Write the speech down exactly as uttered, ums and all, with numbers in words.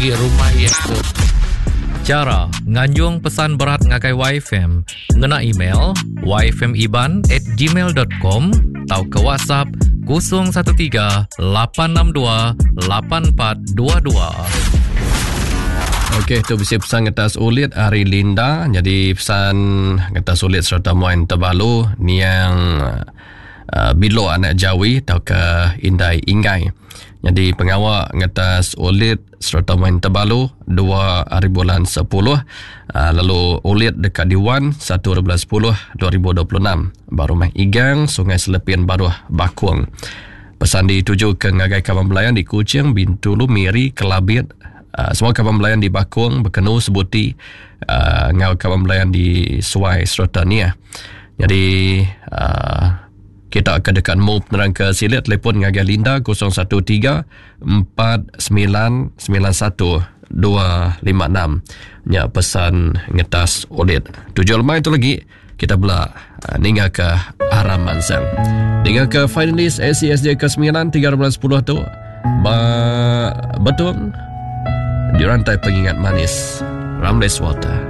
Rumah iya tu. Chara nganjung pesan berat ngagai Y F M ngena email yfmiban at gmail dot com tauka WhatsApp kosong satu tiga, lapan enam dua, lapan empat dua dua. Okey, tu bisi pesan ngetas ulit hari Linda. Jadi pesan ngetas ulit serta muan tebalu niang uh, Bilo anak Jawi atau ke Indai Ingai. Jadi pengawal ngetas ulit serta main tebalu dua hari bulan sepuluh, uh, lalu ulit dekat Diwan satu hari bulan sepuluh dua ribu dua puluh enam baru Rumah Igang, Sungai Selepin Baruh, Bakung. Pesan dituju ke ngagai kawan belayan di Kuching, Bintulu, Miri, Kelabit, uh, semua kawan belayan di Bakung, Bekenu, Sebuti, uh, ngau kawan belayan di Suai serta Nia. Jadi uh, kita akan dekat mu penerang ke silit, telefon ngagai Linda kosong satu tiga empat sembilan sembilan satu dua lima enam. Nya pesan ngetas ulit. Tujuh lemai itu lagi kita bela uh, ninggal ke Aram Mansang. Ninggal ke finalis A C S J kesembilan tiga bulan sepuluh tu ba betul di rantai pengingat manis Ramles Water.